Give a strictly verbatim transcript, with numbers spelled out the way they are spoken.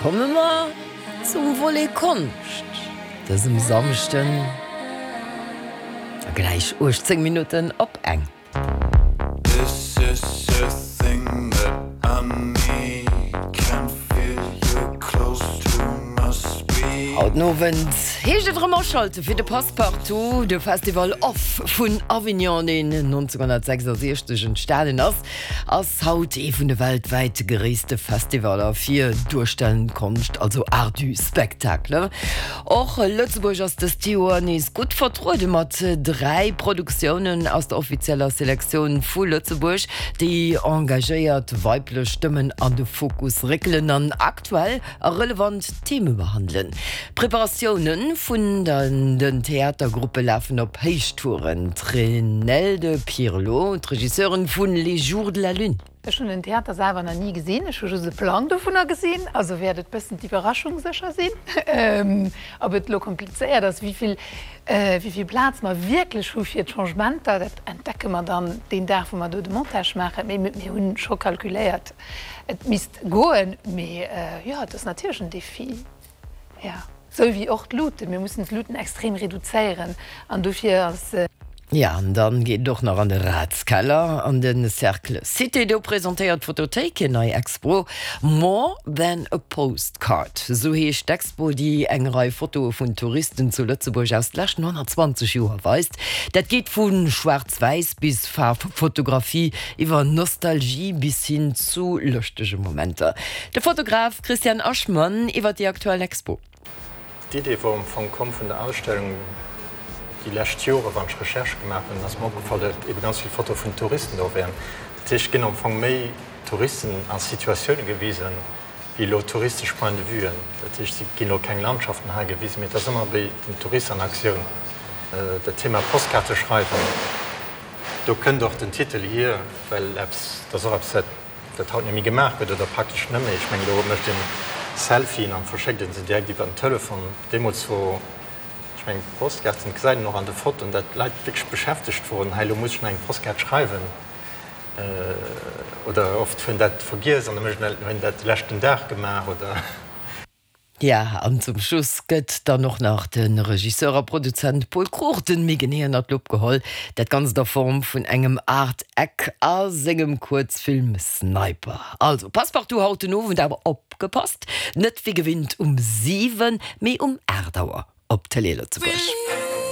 Komme mer zum Volet Konscht dësem Samschden gläich uechtzéng Minutten op eng. This is a thing that I need. Can feel you close to my speed. Haut den Owend heescht et erëm aschalte fir de Passepartout, de Festival Off vun Avignon, deen nonzénghonnertsechsasiechzeg entstanen ass, ass haut ee vun de weltwäit gréisste Festivaller fir duerstellend Konscht, also Art du spectacle. Och Lëtzebuerg ass dëst Joer nees gutt vertruede mat dräi Produktiounen aus der offizieller Selektioun vu Lëtzebuerg, déi engagéiert weiblech Stëmmen an de Fokus réckelen an aktuell a relevant Theme behandelen. D'Preparatioune vun den Theatergruppe lafen op Héichtouren. D'Renelde Pirlot, d'Regisseurin vun Les Jours de la Lune. Ech hunn den Theater selwer nach ni gesinn, ech hu just e Plang dovunner gesinn, also wäert et bëssen d'Iwwerraschung sécher sinn, ob et elo komplizéiert ass, wéi vill, wéi vill Plaz mer wierklech hu fir d'Changementer, dat entdecke mer dann deen Dag, wou mer do de Montage maachen. Mee mir hunn scho kalkuléiert, et misst goen. Mee jo, et ass natierlech en Defi, jo, sou wéi och d'Luuten. Mir mussen d'Luuten extrem reduzéieren an dofir ass. Ja, an dann geet et och nach an de Ratskeller an de Cercle Cité. Do presentéiert d'Fotothéik hir nei Expo More than a postcard. Esou heescht d'Expo, déi eng Rei Fotoe vun Touristen zu Lëtzebuerg aus de leschten honnertzwanzeg Joer weist. Dat geet vu Schwaarz-Wäiss bis Faarffotografie, iwwer Nostalgie bis hin zu lëschtege Momenter. De Fotograf Christian Aschmann iwwer déi aktuell Expo. D'Idee wor am Fong komm vun der Ausstellung déi lescht Jore wann ech Recherche gemaach hunn, ass mer opgefall, datt ebe ganz vill Fotoe vun Touristen do wären. Dat heescht, et ginn am Fong méi Touristen a Situatioune gewisen, wéi elo touristesch Point de vuen. Dat heescht, et ginn elo keng Landschaften hei gewisen, mee et ass ëmmer wéi den Tourist an Aktioun. Dat Thema Postkaarte schreiwen, do kënnt och den Titel hier, well eppes, dat ass och eppes, dat dat haut net méi gemaach gëtt oder praktesch net méi. Ech mengen, elo mécht een Selfien an verschéckt een se direkt iwwer den Telefon. Deemools wor, ech mengen, d'Postkaarten, dat gesäit een och an de Fotoen, dat d'Leit wierklech beschäftegt woren, hei elo muss ech nach eng Postkaart schreiwen. Oder oft hunn dat vergiess an da mécht een, hunn dat de leschten Dag gemaach oder. Ja, an zum Schluss gëtt dann och nach de Regisseur a Produzent Pol Cruchten méi genee ënner d'Lupp geholl. Dat Ganzt a Form vun engem Art Eck a sengem Kuerzfilm Sniper. Also, Passepartout haut den Owend, awer opgepasst, net wéi gewinnt um siwen, mee um aacht Auer op Télé Lëtzebuerg.